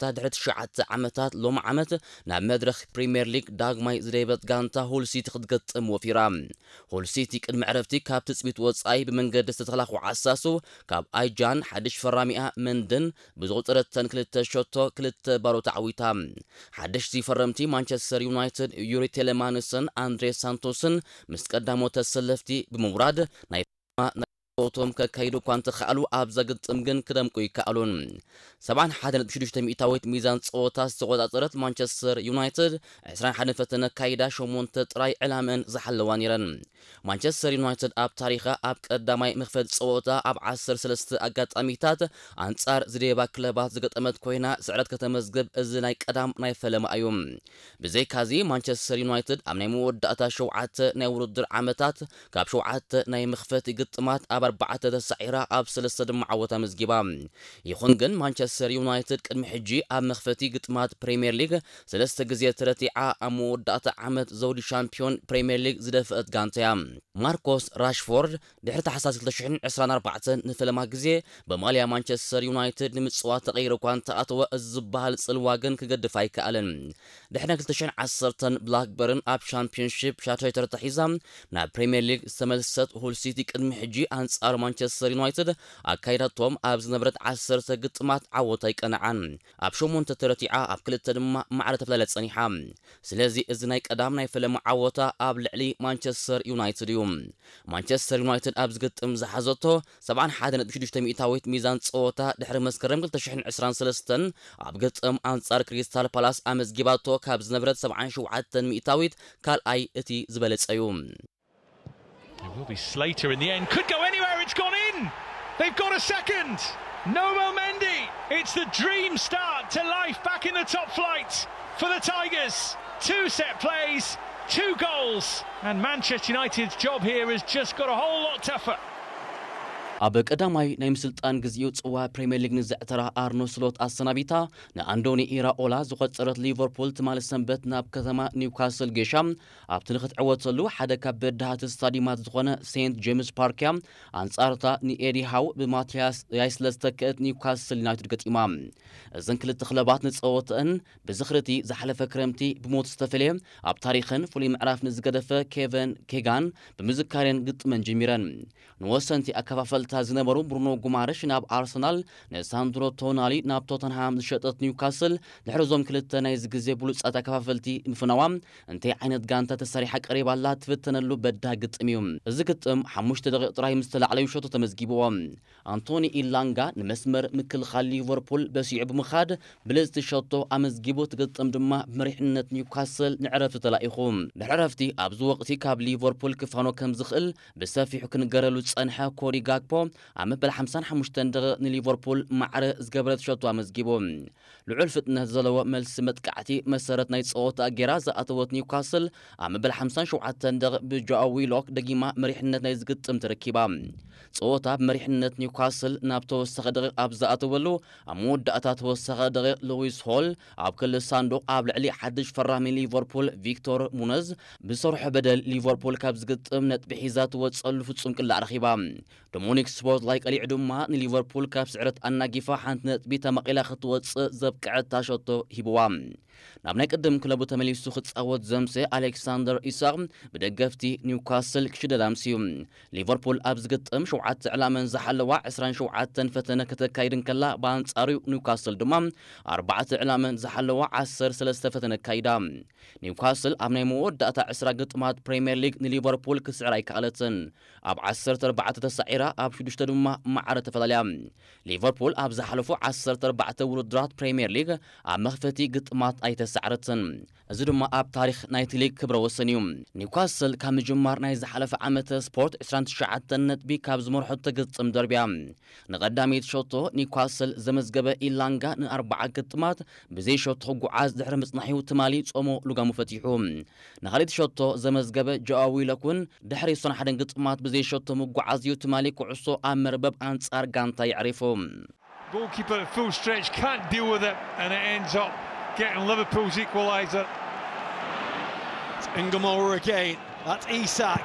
ኣርባዕተ ድሕሪ ትሽዓተ ዓመታት ሎም ዓመት ናብ መድረኽ ፕሪምየር ሊግ ዳግማይ ዝደየበት ጋንታ ሁል ሲቲ ክትገጥም ወፊራ። ሁል ሲቲ ቅድሚ ዕረፍቲ ካብ ትጽቢት ወጻኢ ብመንገዲ ዝተተላኹ ዓሳሱ ካብ ኣይጃን ሓድሽ ፈራሚኣ መንድን ብዝቑጸረተን ክልተ ሸቶ ክልተ ባዶ ተዓዊታ። ሓደሽቲ ፈረምቲ ማንቸስተር ዩናይትድ ዩሪ ቴሌማንስን ኣንድሬ ሳንቶስን ምስ ቀዳሞት ተሰለፍቲ ብምውራድ ናይ ቶም ከካይዱ እኳ እንተኸኣሉ ኣብዛ ግጥም ግን ክደምቁ ይከኣሉን። ሰብዓን ሓደን ነጥቢ ሽዱሽተ ሚእታዊት ሚዛን ጸወታ ዝተቆጻጸረት ማንቸስተር ዩናይትድ ዕስራን ሓደን ፈተነ ኣካይዳ ሸሞንተ ጥራይ ዕላመን ዝሓለዋ ነይረን። ማንቸስተር ዩናይትድ ኣብ ታሪኻ ኣብ ቀዳማይ መኽፈት ጸወታ ኣብ ዓሰርተ ሰለስተ ኣጋጣሚታት ኣንጻር ዝደየባ ክለባት ዝገጠመት ኮይና ስዕረት ከተመዝግብ እዚ ናይ ቀዳም ናይ ፈለማ እዩ። ብዘይካዚ ማንቸስተር ዩናይትድ ኣብ ናይ መወዳእታ ሸውዓተ ናይ ውድድር ዓመታት ካብ ሸውዓተ ናይ መኽፈቲ ግጥማት ኣብ ኣርባዕተ ተሳዒራ ኣብ ሰለስተ ድማ ዓወት ኣመዝጊባ። ይኹን ግን ማንቸስተር ዩናይትድ ቅድሚ ሕጂ ኣብ መኽፈቲ ግጥማት ፕሪምየር ሊግ ሰለስተ ግዜ ተረቲዓ ኣብ መወዳእታ ዓመት ዘውዲ ሻምፒዮን ፕሪምየር ሊግ ዝደፍአት ጋንታ እያ። ማርኮስ ራሽፎርድ ድሕሪ ታሕሳስ ክልተ ሽሕን ዕስራን ኣርባዕተን ንፈለማ ግዜ ብማልያ ማንቸስተር ዩናይትድ ንምጽዋት ተቐይሩ እኳ እንተኣተወ፣ እዚ ዝበሃል ጽልዋ ግን ክገድፍ ኣይከኣለን። ድሕሪ ክልተ ሽሕን ዓሰርተን ብላክበርን ኣብ ሻምፒዮንሺፕ ሻቶይተር ተሒዛ ናብ ፕሪምየር ሊግ ዝተመልሰት ሁል ሲቲ ቅድሚ ሕጂ ኣንጻር ማንቸስተር ዩናይትድ ኣካይዳቶም ኣብ ዝነበረት ዓሰርተ ግጥማት ዓወት ኣይቀነዓን። ኣብ ሸሞንተ ተረቲዓ ኣብ ክልተ ድማ ማዕረ ተፈላለያ ጸኒሓ። ስለዚ እዚ ናይ ቀዳም ናይ ፈለማ ዓወታ ኣብ ልዕሊ ማንቸስተር ዩናይትድ እዩ። ማንቸስተር ዩናይትድ ኣብ ዝግጥም ዝሓዘቶ ሰብዓን ሓደን ነጥቢ ሽዱሽተ ሚእታዊት ሚዛን ጸወታ ድሕሪ መስከረም ክልተ ሽሕን ዕስራን ሰለስተን ኣብ ግጥም ኣንጻር ክሪስታል ፓላስ ኣመዝጊባቶ ካብ ዝነበረት ሰብዓን ሸውዓተን ሚእታዊት ካልኣይ እቲ ዝበለጸ እዩ። It will be Slater in the end. Could go anywhere. It's gone in. They've got a second. Nomo Mendy. It's the dream start to life back in the top flight for the Tigers. Two set plays, two goals. And Manchester United's job here has just got a whole lot tougher. ኣብ ቀዳማይ ናይ ምስልጣን ግዜኡ ጽዋ ፕሪምየር ሊግ ንዘዕተራ ኣርኖ ስሎት ኣሰናቢታ ንኣንዶኒ ኢራኦላ ዝቖጸረት ሊቨርፑል ትማሊ ሰንበት ናብ ከተማ ኒውካስል ጌሻ ኣብቲ ንኽትዕወተሉ ሓደ ካብ በዳህቲ ስታዲማት ዝኾነ ሴንት ጄምስ ፓርክ እያ ኣንጻርታ ንኤዲ ሃው ብማቲያስ ያይስለ ዝተክአት ኒውካስል ዩናይትድ ገጢማ። እዘን ክልተ ክለባት ንጸወተአን ብዝኽር'ቲ ዝሓለፈ ክረምቲ ብሞት ዝተፈልየ ኣብ ታሪኽን ፍሉይ ምዕራፍ ንዝገደፈ ኬቨን ኬጋን ብምዝካሬን ግጥመን ጀሚረን። ንወሰንቲ ኣከፋፈልታ ዝነበሩ ብሩኖ ጉማርሽ ናብ ኣርሰናል፣ ንሳንድሮ ቶናሊ ናብ ቶተንሃም ዝሸጠት ኒውካስል ድሕሪ እዞም ክልተ ናይዚ ግዜ ብሉጻት ኣከፋፈልቲ ምፍናዋ እንታይ ዓይነት ጋንታ ተሰሪሓ ቀሪባ ኣላ ትፍተነሉ በዳህ ግጥም እዩ። እዚ ግጥም ሓሙሽተ ደቂቕ ጥራይ ምስ ተላዕለ እዩ ሸቶ ተመዝጊብዎ። ኣንቶኒ ኢላንጋ ንመስመር ምክልኻል ሊቨርፑል በሲዑ ብምኻድ ብልጽቲ ሸቶ ኣመዝጊቡ እቲ ግጥም ድማ ብመሪሕነት ኒውካስል ንዕረፍቲ ተላኢኹ። ድሕሪ ዕረፍቲ ኣብዚ ወቕቲ ካብ ሊቨርፑል ክፋኖ ከም ዝኽእል ብሰፊሑ ክንገረሉ ዝጸንሐ ኮዲ ጋክፖ ኣብ መበል ሓምሳን ሓሙሽተን ደቂቕ ንሊቨርፑል ማዕረ ዝገበረት ሸቶ ኣመዝጊቡ። ልዑል ፍጥነት ዘለዎ መልሲ መጥቃዕቲ መሰረት ናይ ጸወታ ጌራ ዝኣተወት ኒውካስል ኣብ መበል ሓምሳን ሸውዓተን ደቂቕ ብጆኣው ዊሎክ ደጊማ መሪሕነት ናይ ዝግጥም ተረኪባ። ጸወታ ብመሪሕነት ኒውካስል ናብ ተወሳኺ ደቂቕ ኣብ ዝኣተወሉ ኣብ መወዳእታ ተወሳኺ ደቂቕ ሉዊስ ሆል ኣብ ክሊ ሳንዱቕ ኣብ ልዕሊ ሓድሽ ፈራሚ ሊቨርፑል ቪክቶር ሙነዝ ብሰርሖ በደል ሊቨርፑል ካብ ዝግጥም ነጥቢ ሒዛ ትወጸሉ ፍጹም ቅላዕ ረኺባ። ዶሞኒክ ስፖርትላይ ቀሊዑ ድማ ንሊቨርፑል ካብ ስዕረት ኣናጊፋ ሓንቲ ነጥቢ ተመቒላ ክትወጽእ ዘብቅዐታ ሸቶ ሂብዋ። ናብ ናይ ቅድም ክለቡ ተመሊሱ ክጻወት ዘምሰ ኣሌክሳንደር ኢሳቕ ብደገፍቲ ኒውካስል ክሽደድ ኣምስዩ። ሊቨርፑል ኣብ ዝግጥም ሸውዓተ ዕላመን ዝሓለዋ ዕስራን ሸውዓተን ፈተነ ከተካይድ እንከላ ብኣንጻሩ ኒውካስል ድማ ኣርባዕተ ዕላመን ዝሓለዋ ዓሰርተ ሰለስተ ፈተነ ኣካይዳ። ኒውካስል ኣብ ናይ መወዳእታ ዕስራ ግጥማት ፕሪምየር ሊግ ንሊቨርፑል ክስዕር ኣይከኣለትን። ኣብ ዓሰርተ ኣርባዕተ ተሳዒራ ኣብ ሽዱሽተ ድማ ማዕረ ተፈላለያ። ሊቨርፑል ኣብ ዝሓለፉ ዓሰርተ ኣርባዕተ ውድድራት ፕሪምየር ሊግ ኣብ መኽፈቲ ግጥማት ኣይተሳዕረትን። እዚ ድማ ኣብ ታሪኽ ናይቲ ሊግ ክብረ ወሰን እዩ። ኒውካስል ካብ ምጅማር ናይ ዝሓለፈ ዓመተ ስፖርት ዕስራን ትሽዓተን ነጥቢ ካብ ዝመርሖ ተግጥም ደርብያ። ንቐዳመይቲ ሸቶ ኒውካስል ዘመዝገበ ኢላንጋ ንኣርባዓ ግጥማት ብዘይ ሸቶ ክጓዓዝ ድሕሪ ምጽናሕ'ዩ ትማሊ ጾሞ ልጓሙ ፈቲሑ። ንኻልኣይቲ ሸቶ ዘመዝገበ ጆኣው ዊሎክ እውን ድሕሪ ዕስራን ሓደን ግጥማት ብዘይ ሸቶ ምጉዓዝ'ዩ ትማሊ ኩዕሶ ኣብ መርበብ ኣንጻር ጋንታ የዕሪፉ። Goalkeeper at full stretch can't deal with it and it ends up getting Liverpool's equaliser. It's Ngamora again. That's Isak.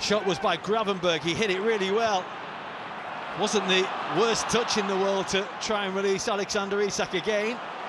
Shot was by Gravenberch. He hit it really well. Wasn't the worst touch in the world to try and release Alexander Isak again.